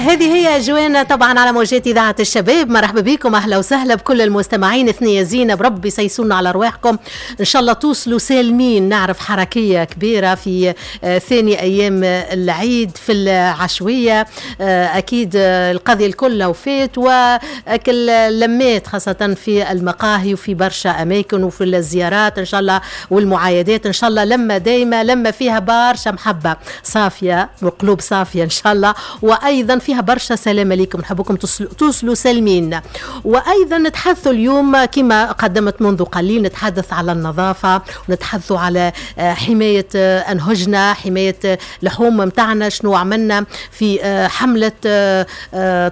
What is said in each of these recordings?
هذه هي جوانا طبعا على موجات إذاعة الشباب. مرحبا بكم، أهلا وسهلا بكل المستمعين. ثنية زينة، بربي سيسونا على أرواحكم، إن شاء الله توصلوا سالمين. نعرف حركية كبيرة في ثاني أيام العيد في العشوية، أكيد القضية الكل وفات وأكل لمات خاصة في المقاهي وفي برشا أماكن وفي الزيارات إن شاء الله والمعايدات. إن شاء الله لما دايمة، لما فيها برشا محبة صافية وقلوب صافية إن شاء الله، وأيضا فيها برشا سلامة لكم، نحبكم توصلوا سالمين. وأيضا نتحدث اليوم كما قدمت منذ قليل، نتحدث على النظافة ونتحدث على حماية أنهجنا، حماية لحوم متاعنا. شنو عملنا في حملة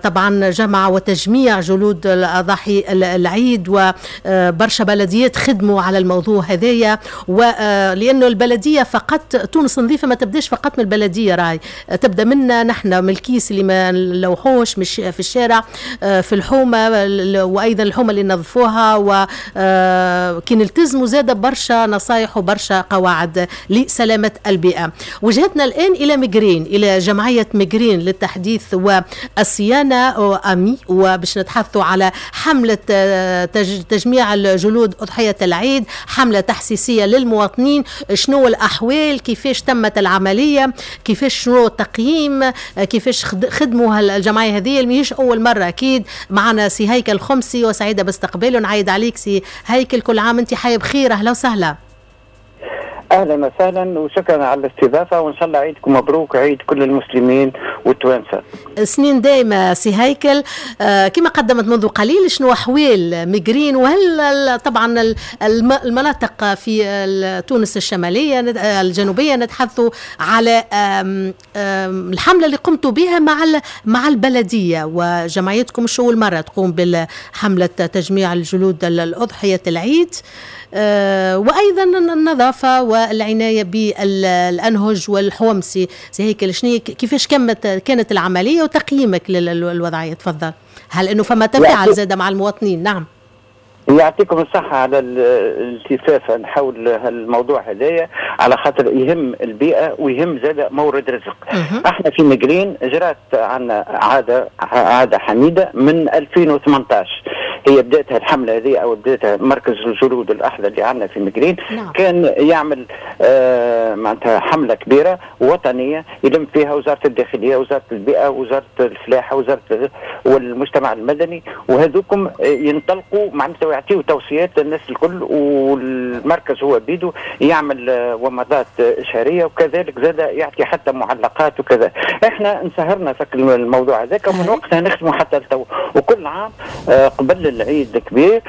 طبعا جمع وتجميع جلود الأضاحي العيد، وبرشا بلديات خدموا على الموضوع هذايا. ولأنه البلدية فقط تونس نظيفة ما تبداش فقط من البلدية، راي تبدأ منا نحن، من الكيس اللي ما نلوحوش مش في الشارع، في الحومة، وأيضا الحومة اللي نظفوها، وكي نلتزموا زادة برشا نصايح وبرشا قواعد لسلامة البيئة. وجهتنا الآن إلى مقرين، إلى جمعية مقرين للتحديث والصيانة أمي، وباش نتحدثوا على حملة تجميع الجلود أضحية العيد، حملة تحسيسية للمواطنين. شنو الأحوال، كيفاش تمت العملية، كيفاش شنو التقييم، كيفاش خدموا الجمعية هذه اللي ماهيش أول مرة. أكيد معنا سي هيكل الخمسي وسعيدة باستقباله. نعيد عليك سي هيكل، كل عام أنت حي بخير، أهلا وسهلا. اهلا وسهلا وشكرا على الاستضافة، وان شاء الله عيدكم مبروك، عيد كل المسلمين والتوانسه. سنين دايمه سي هيكل. كما قدمت منذ قليل، شنو احوال مقرين، وهل طبعا المناطق في تونس الشمالية الجنوبية؟ نتحدث على الحملة اللي قمتوا بها مع البلدية وجمعيتكم، مش اول مرة تقوم بالحمله تجميع الجلود الاضحية العيد، وايضا النظافة والعناية بالانهج والحومسي. سي هيكل، شنو كيفاش كانت العملية وتقييمك للوضعيه؟ تفضل. هل انه فما تفاعل زاد مع المواطنين؟ نعم. يعطيكم الصحة على الالتفافة حول الموضوع هذايا، على خاطر يهم البيئة ويهم زاد مورد رزق. احنا في مقرين جرات عندنا عادة حميدة من 2018، هي بداتها الحملة هذه أو بداتها مركز الجلود الأحلى اللي عندنا في مقرين. نعم. كان يعمل معناتها حملة كبيرة وطنية يلم فيها وزارة الداخلية، وزارة البيئة، وزارة الفلاحة، وزارة والمجتمع المدني، وهذوكم ينطلقوا معناتها يعطيوا توصيات للناس الكل، والمركز هو بيدو يعمل ومضات شهرية، وكذلك زاد يعطي حتى معلقات وكذا. احنا انسهرنا في الموضوع هذاك ومن وقتها نخدموا حتى التو، وكل عام قبل العيد الكبير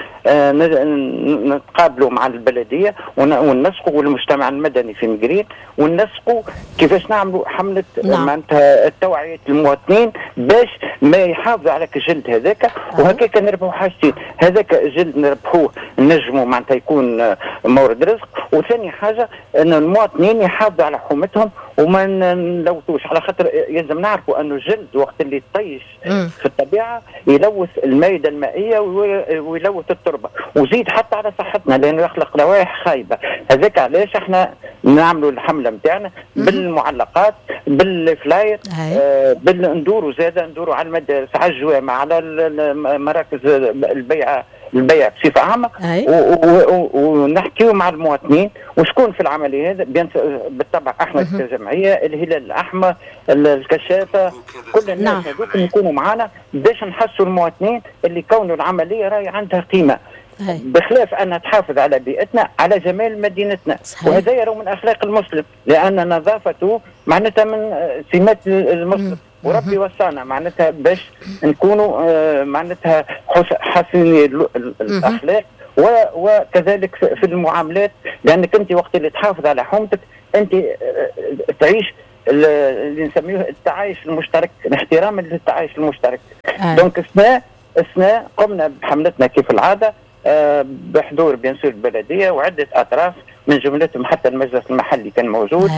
نتقابلوا مع البلدية وننسقوا والمجتمع المدني في مقرين، وننسقوا كيفاش نعملوا حمله. نعم. معناتها التوعية المواطنين باش ما يحافظوا على الجلد هذاك، وهكاك نربحوا حاجتين، هذاك الجلد نربحوه نجموا معناتها يكون مورد رزق، وثاني حاجة ان المواطنين يحافظوا على حومتهم وما نلوثوش، على خاطر يلزم نعرفوا انه الجلد وقت اللي يطيش في الطبيعة يلوث المائدة المائية ويلوث التربة، وزيد حتى على صحتنا لانه يخلق روائح خايبة. هذاك علاش احنا نعملوا الحملة نتاعنا بالمعلقات، بال flyers، ندوروا زاده، ندوروا على المدارس، على الجوامع، على مراكز البيع بصفة عامة، ونحكيو مع المواطنين وشكون في العملية هذا. بالطبع احنا كجمعية، الهلال الاحمر، الكشافه، كل الناس هذوك يكونوا معنا باش نحسوا المواطنين اللي كونوا العملية راهي عندها قيمة. بخلاف انها تحافظ على بيئتنا، على جمال مدينتنا. صحيح. وهذا يرى من اخلاق المسلم، لان نظافته معناتها من سمات المسلم. وربي وصانا معناتها باش نكونوا معناتها حسني الاخلاق، وكذلك في المعاملات، لانك انت وقت اللي تحافظ على حومتك انت تعيش اللي نسميه التعايش المشترك، الاحترام للتعايش المشترك. donc السنة قمنا بحملتنا كيف العادة، بحضور bien sûr البلدية وعده اطراف من جملتهم حتى المجلس المحلي كان موجود،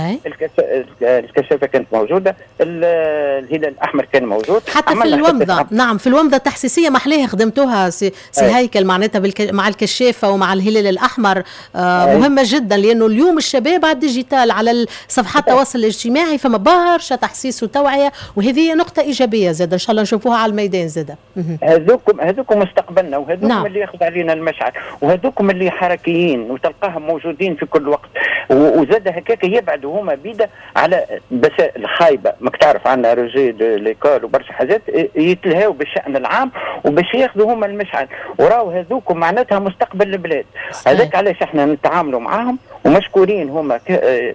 الكشافه كانت موجوده، الهلال الاحمر كان موجود. حتى في الومضه، نعم في الومضه التحسيسيه محليها خدمتوها سي هيكل، معناتها مع الكشافه ومع الهلال الاحمر، مهمة جدا، لانه اليوم الشباب على ال digital، على صفحات التواصل الاجتماعي، فما برشا تحسيس وتوعيه، وهذه نقطة ايجابية زاد ان شاء الله نشوفوها على الميدان زاد. هذوكم مستقبلنا، وهذوكم اللي ياخذ علينا المشعل، وهذوكم اللي حركيين وتلقاهم موجودين في كل وقت، وزاد هكاك يبعدوا هما بيدا على بس الخايبه. ماك تعرف عندنا rejet de l'école وبرشا حاجات، يتلهاو بالشان العام وباش ياخذوا هما المشعل، وراو هذوكم معناتها مستقبل البلاد. هذاك علاش احنا نتعاملوا معاهم ومشكورين هما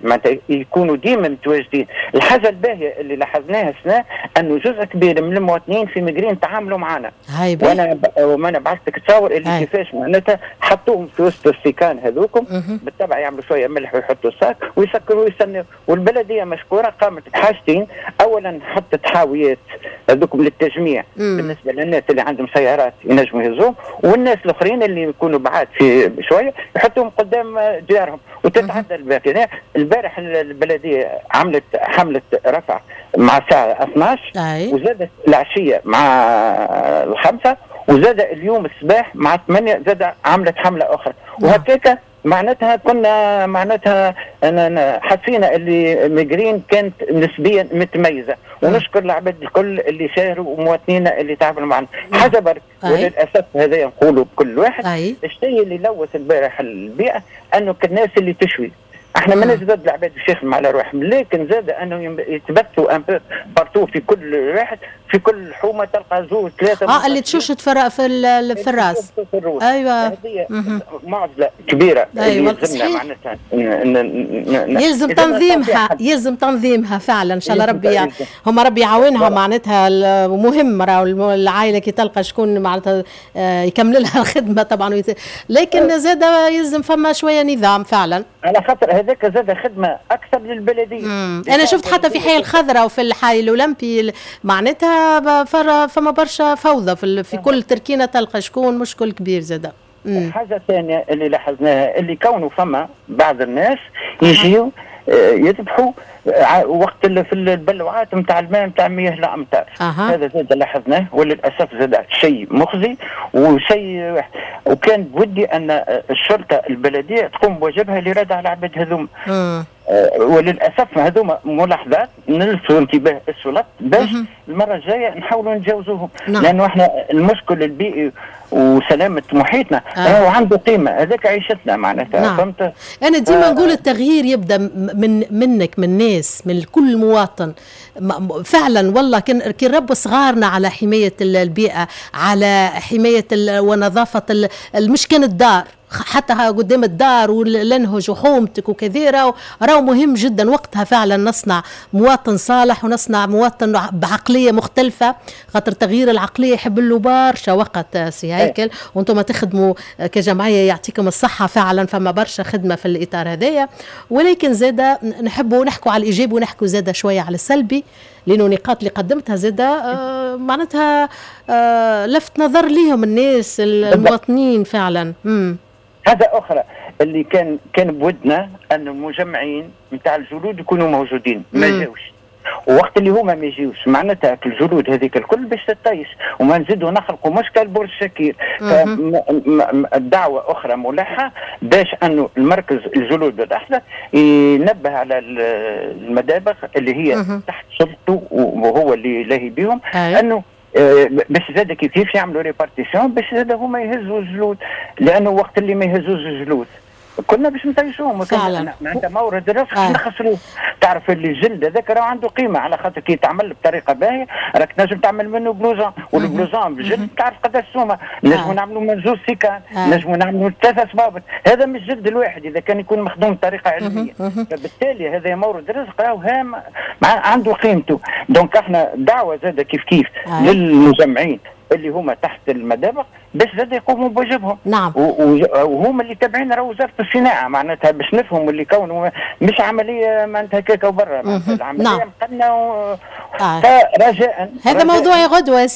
معناتها يكونوا ديما متواجدين. الحاجة الباهيه اللي لاحظناها السنة انه جزء كبير من المواطنين في مقرين تعاملوا معنا. وانا بعثت لك تصور اللي كيفاش معناتها حطوهم في وسط السيكان هذوكم، بالطبع يعملوا شوية ملح ويحطوا ال sac ويسكروا ويستنوا. والبلديه مشكورة قامت بحاجتين: اولا حطت حاويات هذوكم للتجميع بالنسبة للناس اللي عندهم سيارات ينجموا يهزوهم، والناس الاخرين اللي يكونوا بعاد في شوية يحطوهم قدام ديارهم وتتعدى الباقي. البارح البلدية عملت حمله رفع مع الساعة 12، وزادت العشية مع 5، وزاد اليوم الصباح مع 8 زاد عملت حمله اخرى. وهكاك معناتها كنا معناتها أنا حسينا اللي مقرين كانت نسبيا متميزه، ونشكر العباد الكل اللي ساهروا ومواطنينا اللي تعاملوا معنا. حاجة برك، وللاسف هذا نقولوا بكل واحد، الشيء اللي لوث البارح البيئة انه الناس اللي تشوي. احنا ما ضد العباد باش يخدموا على روحهم، لكن زاد انه يتبثوا un peu partout، في كل واحد في كل حومه تلقى زوج ثلاثه. اللي تشوشت في الراس. في الروس، ايوه. هذه معضلة كبيرة. ايوه معناتها يلزم تنظيمها، يلزم تنظيمها فعلا. ان شاء الله ربي هما ربي يعاونها. معناتها مهم راهو العائلة كي تلقى شكون معناتها يكمل لها الخدمة طبعا، لكن زاد يلزم فما شوية نظام فعلا. على خاطر هذاك زاد خدمة اكثر للبلديه. انا شفت حتى في حي الخضراء وفي الحي الاولمبي معناتها فما برشا فوضى في كل تركينه تلقى شكون، مشكل كبير زاد. حاجة ثانية اللي لاحظناها اللي كونه فما بعض الناس يجيو يذبحوا وقت اللي في البلوعات نتاع الماء نتاع مياه الامطار. هذا زاد لاحظناه، وللاسف زاد شيء مخزي وشيء، وكان بودي ان الشرطة البلدية تقوم بواجبها لردع العباد هذوما. وللاسف هذوما ملاحظات نلفتوا انتباه السلطات باش المرة الجاية نحاولوا نتجاوزوهم، لانه احنا المشكل البيئي وسلامه محيطنا هو عنده قيمه، هذاك عيشتنا معناتها. فهمت؟ انا ديما نقول التغيير يبدا من منك، من الناس، من كل مواطن فعلا. والله كي نربوا صغارنا على حماية البيئه، على حماية ونظافه، مش كان الدار، حتى قدام الدار والنهج وحومتك وكذا، راهو مهم جدا. وقتها فعلا نصنع مواطن صالح ونصنع مواطن بعقلية مختلفه، خاطر تغيير العقلية يحب له برشا وقت سي هيكل. وانتم تخدموا كجمعيه، يعطيكم الصحة فعلا، فما برشا خدمة في الاطار هذايا، ولكن زاده نحبوا نحكوا على الايجابي ونحكوا زاده شوية على السلبي، لانه النقاط اللي قدمتها زاده معناتها لفت نظر ليهم الناس المواطنين فعلا. حاجة اخرى اللي كان بودنا ان المجمعين نتاع الجلود يكونوا موجودين، ما جاوش. ووقت اللي هما ما يجيوش معناتها الجلود هذيك الكل باش تطيش وما نزيدوا نخلقوا مشكل برج شكير. الدعوة اخرى ملحة باش انه المركز الجلود الاحدث ينبه على المدابغ اللي هي تحت سلطته وهو اللي لاهي بهم، انه باش زاد كيف كيف يعملوا répartition باش زاد هما يهزوا الجلود، لانه وقت اللي ما يهزوش الجلود كنا باش نطيشوهم. فعلا. معناتها مورد الرزق نخسروه. تعرف اللي الجلد هذاك راه عنده قيمه، على خاطر كي تعمل بطريقة باهيه راك تنجم تعمل منه blouson، وال blouson بالجلد تعرف قداش سومه. نجموا نعملوا من زوج سيكان، نجموا نعملوا ثلاثة صبابط، هذا مش جلد الواحد اذا كان يكون مخدوم بطريقة علميه. فبالتالي هذا مورد رزق راهو هام عنده قيمته. donc احنا دعوه زاد كيف كيف للمجمعين اللي هما تحت المدابغ باش زاد يقوموا بواجبهم. وهما اللي تابعين راهو وزارة الصناعه، معناتها باش نفهموا اللي كونه مش عملية معناتها هكاك وبرا، العملية مقننه. فرجاء هذا موضوع غدوه.